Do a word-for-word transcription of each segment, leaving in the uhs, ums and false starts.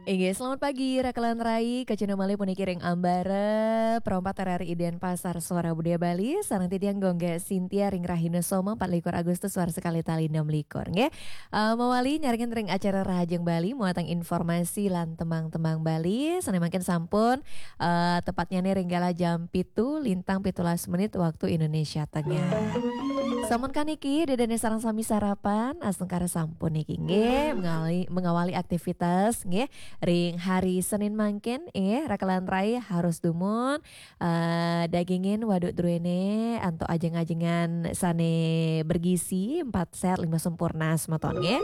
Inggih, selamat pagi, Rakelan Rai, kacuna malih puniki ring Ambara, Pro empat R R I Denpasar, Suara Budaya Bali, sareng titiang Gung Gek Sintia ring rahina Soma, empat likur Agustus, warsa kalih tali enam likur, nggih. Eh, mawali nyarengin ring acara Rahajeng Bali, muatan informasi lan tembang-tembang Bali, sane mangkin sampun, eh, tepatnyane ring galah jam pitu, lintang pitulas menit waktu Indonesia Tengah. Sampun kan niki, dedene sareng sami sarapan, astungkara sampun niki, nggih, mengawali, mengawali aktivitas, nggih, ring hari Senin mangkin, eh, Rakelan Rai harus dumun, eh, dagingin waduk druene antuk ajeng-ajengan sane bergizi, empat sehat, lima sempurna, semeton, nggih.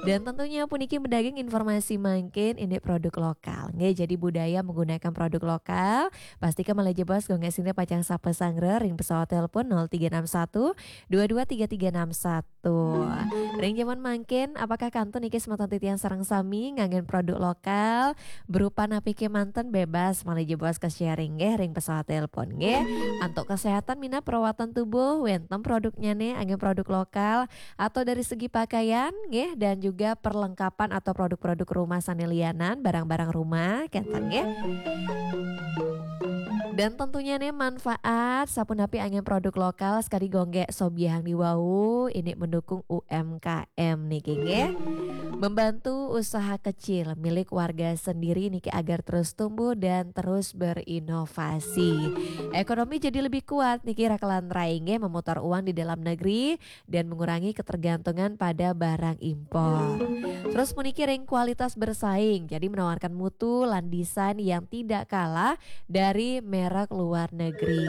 Dan tentunya puniki medaging informasi mangkin indik produk lokal, nggih, jadi budaya menggunakan produk lokal. Pastika malih jebos Gung Gek Sintia pacang sapa sanggra ring pesawat telepon nol tiga enam satu dua dua tiga tiga enam satu. Ring jaman mangkin, apakah kantun niki semeton titiang sareng sami nganggen produk lokal? Berupa napi kemanten bebas malih jebos ke sharing nggih ring pesawat telepon nggih. Antuk kesehatan minab perawatan tubuh, wenten produknyane anggen produk lokal atau dari segi pakaian nggih, dan juga perlengkapan atau produk-produk rumah sane lianan, barang-barang rumah, kenten nggih. Dan tentunya nih manfaat sapunapi anggen produk lokal sekadi Gung Gek sobiahang diwau ini mendukung U M K M niki nggih. Membantu usaha kecil milik warga sendiri niki agar terus tumbuh dan terus berinovasi. Ekonomi jadi lebih kuat niki Rakelan Rai nggih, memutar uang di dalam negeri dan mengurangi ketergantungan pada barang impor. Terus puniki ring kualitas bersaing, jadi menawarkan mutu lan desain yang tidak kalah dari merek luar negeri.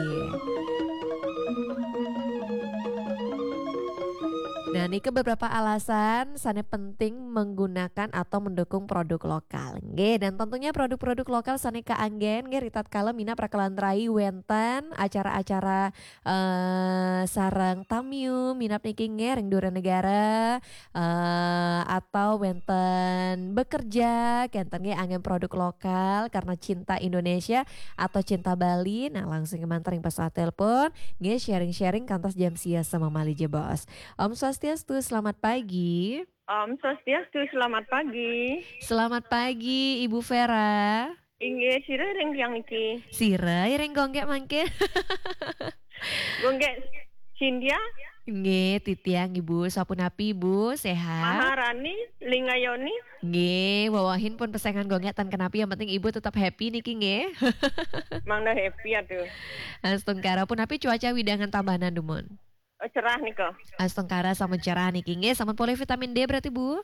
Nah, niki beberapa alasan sane penting menggunakan atau mendukung produk lokal. Nggih, dan tentunya produk-produk lokal sane kaanggen nggih ritatkala minab Rakelan Rai wenten acara-acara eh, sareng tamiu minab niki nggih ring dura negara, eh, atau wenten bekerja, kenten nggih anggen produk lokal karena cinta Indonesia atau cinta Bali. Nah, langsung kemanten ring pesawat telepon, nggih sharing-sharing kantos jam sia sama malih jebos. Om Swastiastu, selamat pagi. Om Swastiastu, selamat pagi. Selamat pagi, Ibu Vera. Inggih, sira ring tiang niki? Sira ring Gung Gek mangke. Gung Gek Sintia? Nggih, titiang Ibu, sapunapi Ibu, sehat? Maharani, Lingayoni? Nggih, wewehin pun pesengan Gung Gek tan kenapi, yang penting Ibu tetap happy niki nggih. Mangda happy atuh. Astungkara, punapi cuaca wewidangan Tabanan dumun? Oh, cerah nika. Astungkara sampun cerah niki nggih, sampun polih vitamin D berarti Bu?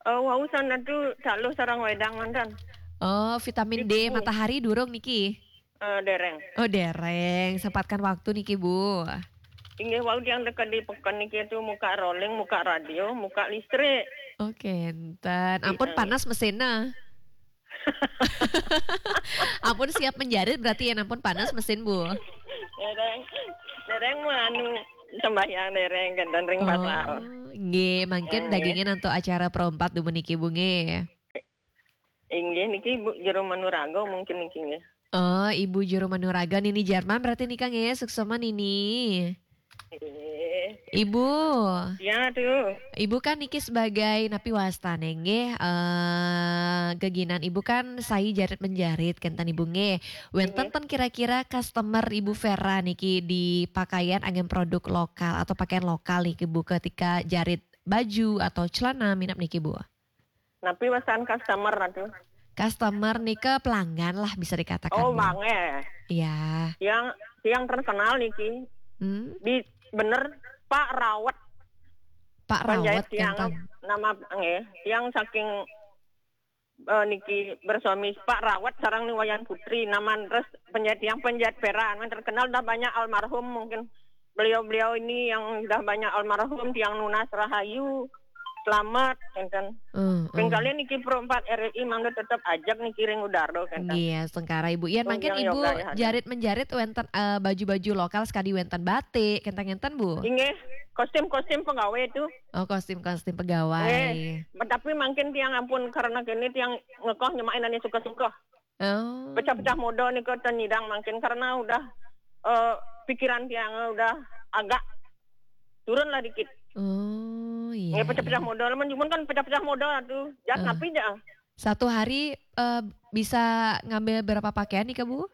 Oh, wau sanadu taluh sareng wedang manten. Oh, vitamin D. Di kuku. Matahari durung niki? Eh, dereng. Oh, dereng. Sempatkan waktu niki, Bu. Inggih, wau tiang teka di peken niki tu muka rolling, muka radio, muka listrik. Oh, kenten. Ampun, iya, panas mesinnya. Ampun siap menjarit berarti ya, ampun panas mesin, Bu. Dereng, dereng mau anu sembahyang dereng kenten ring pasar. Oh, nggih, mangkin. Nggih. Dagingin antuk acara Pro empat dumun niki, Bu, nggih. Inggih, niki Ibu Jero Manuraga mungkin niki nggih. Oh, Ibu Jero Manuraga, Nini Jerman berarti nika nggih, suksma Nini. Nggih. Ibu. Ya, tuh. Ibu kan niki sebagai napi wastane nggih, eh, geginan Ibu kan sae jarit menjarit kenten Ibu nggih. Wenten, nggih, ten kira-kira customer Ibu Vera niki di pakaian anggen produk lokal atau pakaian lokal niki Bu ketika jarit baju atau celana minab niki Bu? Napi wastan customer atuh? Customer nika pelanggan lah bisa dikatakan. Oh, mangke. Iya. Tiang, tiang terkenal niki. Hmm. Di, bener, Pak Rawet. Pak Rawet, penjahit tiang, kenten. Nama, nggih, tiang saking, eh, niki bersuami Pak Rawet sareng Ni Wayan Putri, naman terus penjahit tiang penjahit Vera, terkenal dah banyak almarhum mungkin. Beliau-beliau ini yang dah banyak almarhum, tiang nunas rahayu, selamat, kenten. Hmm, hmm. Pengkalian niki Pro empat R R I mangda tetep ajak niki ring udara, kenten. Iya, astungkara Ibu. Yan, oh, mangkin yang Ibu yoga ya, jarit menjarit wenten, eh, baju-baju lokal sekadi wenten batik, kenten-kenten, Bu? Inggih, kostum-kostum pegawai itu. Oh, kostum-kostum pegawai. Nggih, tapi mangkin tiang ampun karena kene tiang ngekoh nyemain ane suka-suka. Oh. Pecah-pecah modal nika ten nyidang mangkin karena udah, eh, pikiran tiang udah agak turun lah dikit. Oh, iya, nggih, pecah-pecah, iya, modal, men, cuman kan pecah-pecah modal atuh. Jat, eh, napi ja? Satu hari, eh, bisa ngambil berapa pakaian nih, Kak, Bu?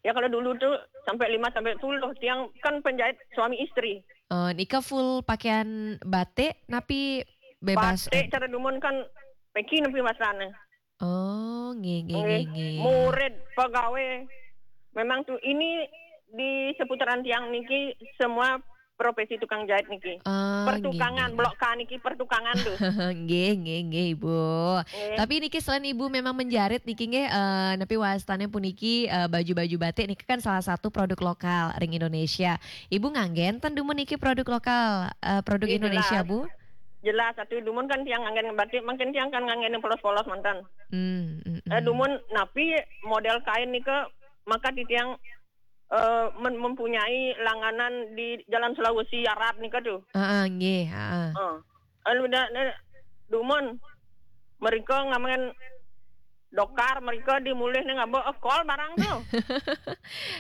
Ya, kalau dulu tuh sampai lima sampai sepuluh. Tiang kan penjahit suami istri. Oh, nika full pakaian batik, napi bebas? Batik cara dumun kan peki napi masane. Oh, nggih, nggih, nggih, nggih. Murid, pegawai. Memang tuh ini di seputaran tiang niki semua profesi tukang jahit niki. Ah, pertukangan, nggih, nggih. Blok K niki pertukangan tuh. Nggih, nggih, nggih, Ibu. Nggih. Tapi niki selain Ibu memang menjarit niki nggih, eh, napi wastane puniki, eh, baju-baju batik niki kan salah satu produk lokal ring Indonesia. Ibu nganggen ten dumun niki produk lokal, eh, produk Indonesia, jelas. Bu? Jelas, atuh dumun kan tiang nganggen batik, mungkin tiang kan nganggen yang polos-polos mantan. Hmm, hmm, hmm. Eh, dumun napi model kain nika maka titiang eh, men-, mempunyai langganan di Jalan Sulawesi Arab nika tuh. Heeh, nggih, heeh. Heeh. Anu da, da, dumun mereka ngamen dokar, mereka dimulih ning ngaba ekol barang tuh.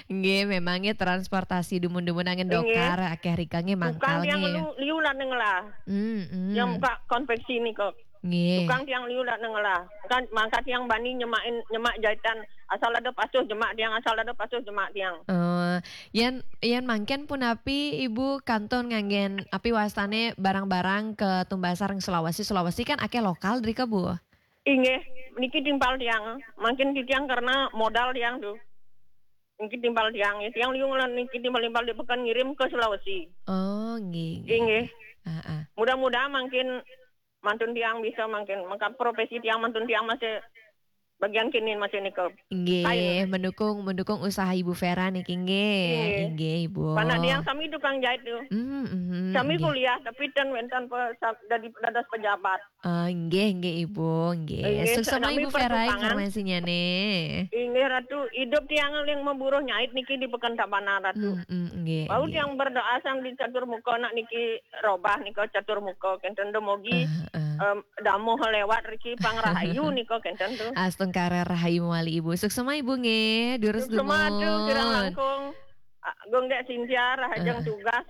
Nggih, memangnya transportasi dumun-dumun angin dokar, akeh rika nggih mangkal. Tukang tiang nggih. Liu, liu lah ning lah. Hmm, hmm. Yang buka konveksi nika. Nggih. Tukang tiang liu lah neng lah. Kan mangkat tiang bani nyemakin, nyemak jahitan. Asal ada pasuh jemak tiang, asal ada pasuh jemak tiang. Oh, yen, yen mangken punapi Ibu kantun nganggen api wastane barang-barang ke tumbasar ring Sulawesi. Sulawesi kan akeh lokal drika, Bu? Inggih, niki timpal tiang. Mangkin titiang karena modal tiang tuh. Niki timpal tiang, ya. Tiang liu lan niki timpal-timpal di pekan ngirim ke Sulawesi. Oh, nggih, nggih. Inggih. Ah, ah. Mudah-mudahan mangkin mantun tiang bisa mangkin, maka profesi tiang mantun tiang masih bagian kini masih nika. Nggih, kain. Mendukung, mendukung usaha Ibu Vera niki nggih. Nggih. Inggih, Ibu. Panak tiang sami tukang jahit tuh. Hmm, hmm, sami nggih. Kuliah tapi ten wenten pe, sa-, dadi dados pejabat. Ah, nggih, nggih, Ibu, nggih. Nggih, suksma sami Ibu Vera pertukangan. Informasinya nih. Inggih, Ratu, hidup tiang yang memburuh nyait niki di Pekan Tabanan, Ratu. Hmm, hmm, nggih, bau nggih. Tiang berdoa sang di catur muka nak niki robah nika catur muka kenten demogi. Ah, ah. Em, damuh lewat riki pang rahayu nika kenten tuh. Astungkara rahayu mawali Ibu. Suksma Ibu nggih, durus. Suksma tuh, kirang langkung. Ah, Gung Dek Cynthia, rahajeng tugas.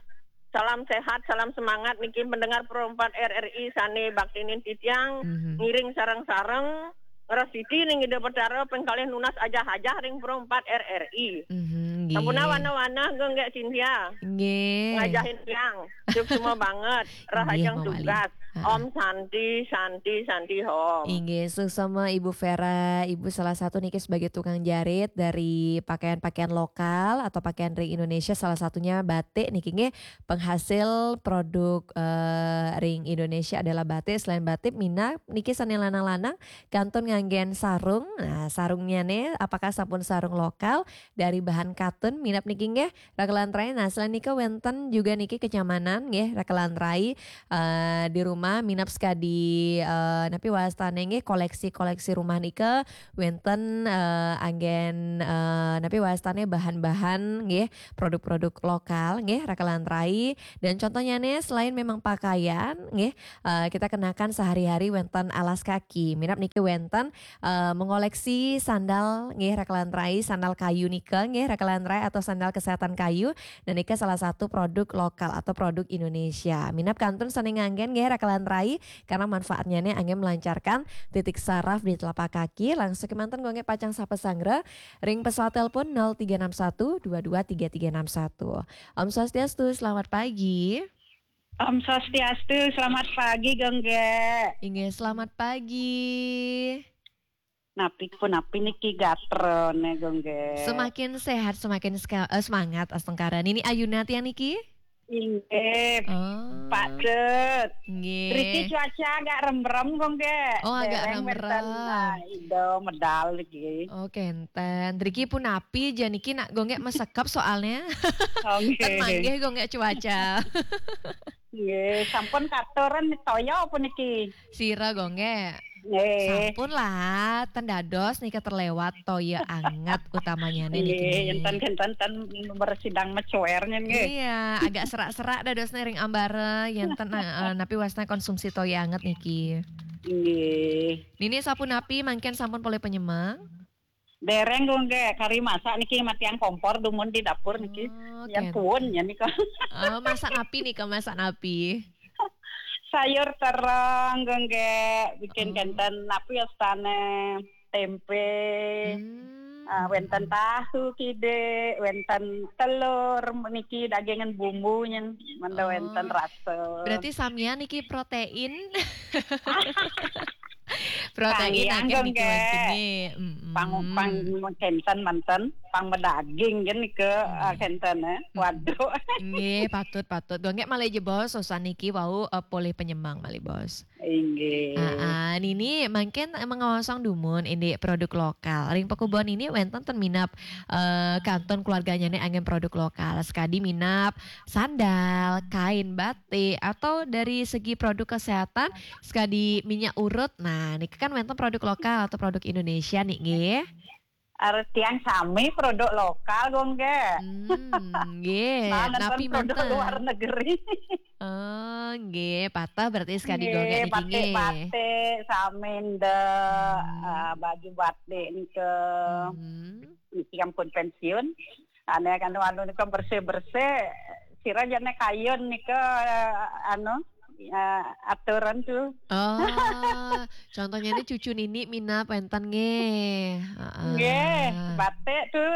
Salam sehat, salam semangat niki pendengar Pro empat R R I sane baktinin titiang, mhm, ngiring sareng-sareng ngrasiti ning Ida Betara pengkalih nunas ajah-ajah ring Pro empat R R I. Mhm, nggih. Sampun wana-wana Gung Dek Cynthia. Nggih. Ngajahin tiang. Suksma banget. Rahajeng tugas. Heeh. Om Santi, Santi, Santi Hom. Inggih, suksma Ibu Vera, Ibu salah satu niki sebagai tukang jarit dari pakaian-pakaian lokal atau pakaian ring Indonesia, salah satunya batik niki nggih, penghasil produk, eh, ring Indonesia adalah batik. Selain batik, minab niki sane lanang-lanang kantun nganggen sarung. Nah, sarungnya nih apakah sampun sarung lokal dari bahan katun minab niki nggih? Raka lan rai, nah, selain nika wenten juga niki kenyamanan nggih, raka lan rai, eh, di rumah minab sekadi, eh, napi wastane nggih, koleksi-koleksi rumah nika wenten, eh, anggen, eh, napi wastane bahan-bahan nggih, produk-produk lokal nggih, raka lan rai. Dan contohnya nih, selain memang pakaian nggih, eh, kita kenakan sehari-hari wenten alas kaki. Minab niki wenten eh, mengoleksi sandal nggih, raka lan rai, sandal kayu nika nggih, raka lan rai, atau sandal kesehatan kayu. Dan nika salah satu produk lokal atau produk Indonesia. Minab kantun sane nganggen nggih, raka lan rai, karena manfaatnya nih anggen melancarkan titik saraf di telapak kaki. Langsung kemanten Gung Dek pacang sapa sanggra ring pesawat telepon nol tiga enam satu dua dua tiga tiga enam satu. Om Swastiastu, selamat pagi. Om Swastiastu, selamat pagi, Gung Dek. Inggih, selamat pagi. Napi pun napi niki gatrone, Gung Dek. Semakin sehat, semakin seka-, eh, semangat, astungkara. Nini Ayuna tiang niki? Inggih. Oh. Pak Cet. Nggih. Riki cuaca agak rembrem, Gung Dek. Oh, agak rembrem. Dereng wenten, nah, ido medal niki. Oh, kenten. Riki pun napi ja niki nak Gung Dek mesekep soalnya. Oh, nggih. Ten manggih Gung Dek cuaca. Nggih, sampun katuran toya puniki. Sira, Gung Dek? Nggih. Sampun lah, ten dados nika terlewat toya anget utamanya nih niki. Nggih, enten-enten ten bersidang mecuernya nggih. Iya, agak serak-serak dadosne ring ambara, yen ten, eh, napi wastane konsumsi toya anget niki. Nggih. Nini sapunapi mangkin sampun polih penyemang? Dereng, Gung Dek, kari masak niki matiang kompor dumun di dapur niki. Oh, yang kenten. Puun ya nika. Oh, masak napi nika, masak napi? Sayur terong, Gongge, bikin Oh. kenten, apa ya, stane, tempe, Hmm. ah, wenten tahu, kide, wenten telur, niki dagingan bumbunya, menda Oh. wenten rasa. Berarti samian niki protein? Protein Kangiang, akeh niki Gongge. Wonten nggih. Mm-mm. Pang, pang kenten manten, pang medaging kan nike, Hmm. ah, kenten, eh. Hmm. Waduh. Nggih, patut, patut. Gongge malih jebos, sosan niki wau, eh, polih penyemang malih, Bos. Inggih. Ah, ah, nini mangkin, eh, mengawasang dumun indik produk lokal. Ring pakubon nini wenten ten minab, eh, kantun keluarganya ni anggen produk lokal. Sekadi minab sandal, kain batik, atau dari segi produk kesehatan, sekadi minyak urut. Nah, niki kan wenten produk lokal atau produk Indonesia nih, nggih. Artian sami produk lokal, Gongge. Hmm, nggih. Nah, nenten Napi produk manten? Luar negeri. Oh, nggih. Patah berarti sekadi Gongge Nggih, niki, nggih. Batik-batik, sami nde, Hmm. ah, baju batik nike. Hmm. Niki ampun pensiun. Ane kan anu nika bersih-bersih, sira jane kayun nika, anu, eh, aturan tu. Oh, contohnya ini cucu nini minab wenten nggih. Heeh. Nggih, batik tu.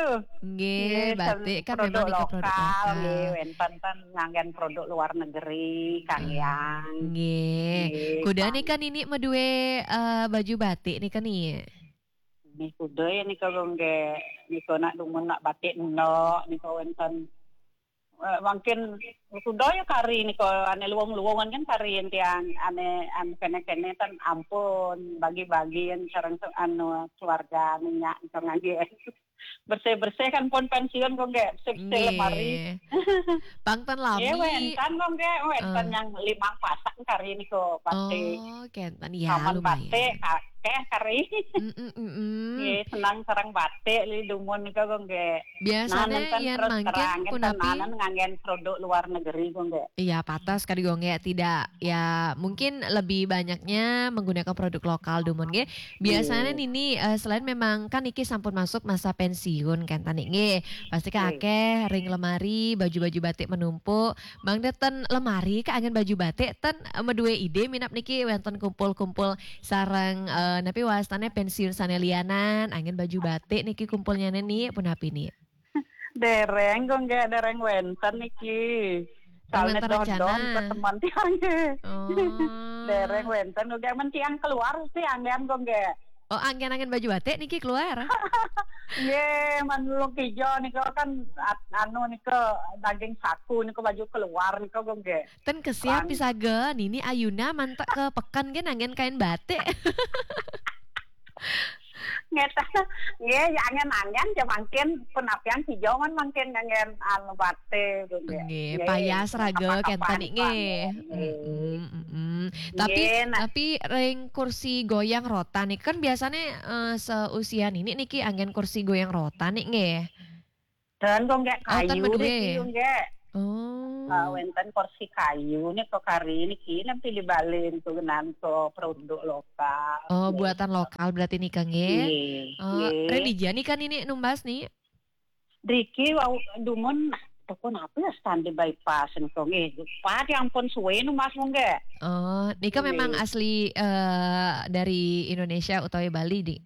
Nggih, Nggih, batik sen-, kan produk memang nika produk lokal, lokal. Nggih, wenten ten nganggen produk luar negeri, Kang Hmm, Yang. Nggih. Nggih, Kuda Kang. Nika nini medue, eh, baju batik nika ni. Ni kuda ya nika, Gongge. Nika nak dumun nak batik nok, nika wenten, eh, mangkin kuda ya kari nika, ane luwung-luwungan kan kari tiang, ane, ane kene-kene ten ampun, bagi-bagian sareng se-, anu, keluarga minyak nika ngangge. Bersih-bersih kan pun pensiun, Gongge, bersih-bersih Nggih. Lemari. Pang ten Nggih, lami. Wenten, Gongge, wenten Eh. yang limang pasang kari nika batik. Oh, kenten. Ya, Saman lumayan. Batik, akeh kari. Mm, mm, mm, mm. Nggih, senang sareng batik li dumun nika, Gongge. Biasanya nah, nenten yen terus mangkin terang, punapi? Tenanan nganggen produk luar negeri, Gongge. Iya, patah sekadi, Gongge. Tidak, ya, mungkin lebih banyaknya menggunakan produk lokal dumun, nggih. Biasanya Nggih. Nini, eh, selain memang kan niki sampun masuk masa pensiun kan tadi, nggih. Pasti kan Nggih. Akeh ring lemari, baju-baju batik menumpuk. Mangda ten lemari ka anggen baju batik, ten, eh, medue ide minab niki wenten kumpul-kumpul sareng, eh, napi wastane pensiun sane lianan, anggen baju batik niki kumpulnya ni, punapi ni? Dereng, Gongge, dereng wenten niki. Oh, soalnya wenten rencana. Dodon ke teman tiang. Oh. Dereng wenten, Gongge, men tiang keluar sih anggen, Gongge. Oh, anggen-anggen baju batik niki keluar? Ye, manulung kijo nika kan at-, anu nika daging saku nika baju keluar nika, Gongge. Ten kesiap Pang- pisaga, nini ayuna mantek ke peken nggih nanggen kain batik. Ngeta, nggih, ya anggen-anggen ya mangkin penapian kijo man mangkin nganggen anu batik, Gongge. Nggih, nggih, payas raga kenten nggih. Nggih. Mm-mm, mm-mm. Tapi, nggih, nah. Tapi ring kursi goyang rotan nih, kan biasanya, eh, seusia nini niki anggen kursi goyang rotan nih, nggih. Dan kok nggak Oh, tan kayu deh, medue. Ki, nggak. Oh. Ah, wenten kursi kayu nih kok kari ini ki, nanti dibalin tuh nan ke produk lokal. Oh, nggih. Buatan lokal berarti nih, Kang, nggih? Nggih, oh, nggih. Relija nih kan ini numbas nih? Driki wau dumun toko napa ya stand di bypass nih kok nggih. Lupa, ya ampun suwe nu Mas mungge. Oh, nika memang nggih. Asli, eh, dari Indonesia utawi Bali, Di?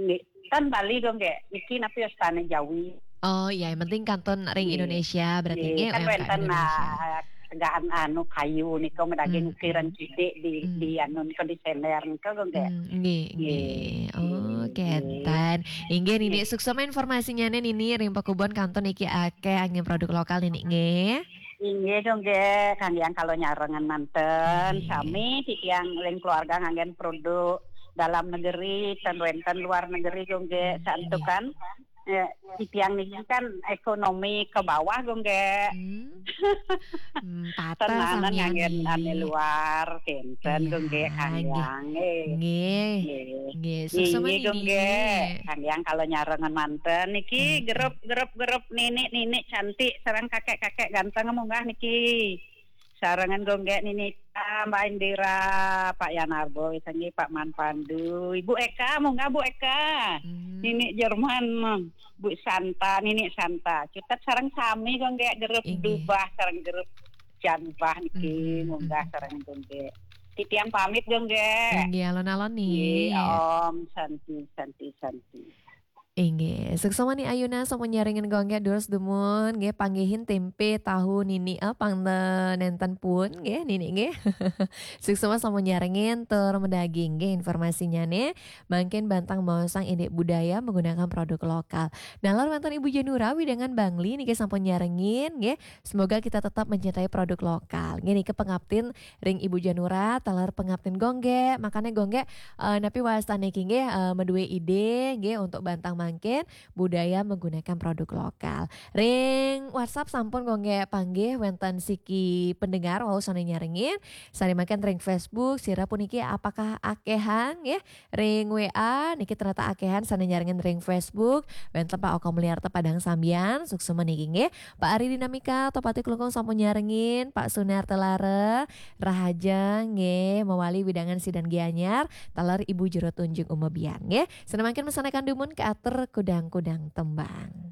Nggih, kan Bali dong nggih. Niki napa ya stand Jawi. Oh, ya yang penting kantun ring nggih. Indonesia berarti nggih, nggih, kan U M K M wenten Indonesia. Nah, tegahan anu kayu nika medaging hmm. Ukiran cidik di, hmm. Di anu nika di seler nika kok nggih. Hmm, nggih, nggih. Nggih. Oh, nggih. Kenten. Inggih nini, nggih. Suksma informasinya nih nini ring pakubon kantun iki akeh anggen produk lokal nini nggih. Inggih dong nggih, kang yang kalau nyarengan manten, nggih. Sami titiang ring keluarga nganggen produk dalam negeri, ten wenten luar negeri dong nggih, hmm, santukan. Nggih. Ya, titiang niki kan ekonomi ke bawah, Gong, nggih. Hmm. Hmm, patah tenanan samian nganggen nih. Ane luar, kenten, iya, Gong, nggih, kang nggih. Yang, eh. Nggih. Nggih. Nggih, suksma nggih, Gong, nini. Nggih. Kang Yang kalau nyarengan manten niki hmm. Grup, grup, grup nini, nini cantik, sareng kakek-kakek ganteng munggah niki. Sarengan Gong, nggih, nini Mbak Indira, Pak Yanarbo, sanggih Pak Man Pandu, Ibu Eka, munggah Bu Eka. Hmm. Nini Jerman, Bu Santa, nini Santa. Cutet sareng sami Gong, nggih, grup inggih. Dubah, sareng grup Janbah niki, hmm, munggah hmm. Sareng Gong, nggih. Titiang pamit dong, Gék. Inggih, alon-alon nih. Om Santi, Santi, Santi. Inggih, suksma nih ayeuna sampun nyarengin Gung Gék, durus dumun nggih, panggihin tempe tahu Nini, eh, pang nénten pun nggih Nini nggih. Suksma sampun nyarengin tur medaging nggih informasinya nih. Mangkin bantang maosang indik budaya menggunakan produk lokal. Nah, lan wénten Ibu Janura wewidangan Bangli niki sampun nyarengin nggih. Semoga kita tetap mencintai produk lokal. Nggih niki pangaptin ring Ibu Janura, taler pangaptin Gung Gék. Makanya Gung Gék, eh, napi wastan niki nggih, eh, madué ide nggih untuk bantang mangkin budaya menggunakan produk lokal. Ring WhatsApp sampun Gung Gék panggih wénten siki pendengar wau sané nyarengin. Sané mangkin ring Facebook sira puniki apakah akéhan nggih? Ring W A niki ternyata akéhan sané nyarengin ring Facebook. Wénten Pak Oko Mulyarta Padang Sambian, suksma niki nggih. Pak Ari Dinamika, Tohpati Klungkung sampun nyarengin, Pak Sunar Telara, rahaja nggih, mawali wewidangan Sidaning Gianyar, taler Ibu Jero Tunjung Umebian nggih. Sané mangkin mesanakan dumun katur kudang-kudang tembang.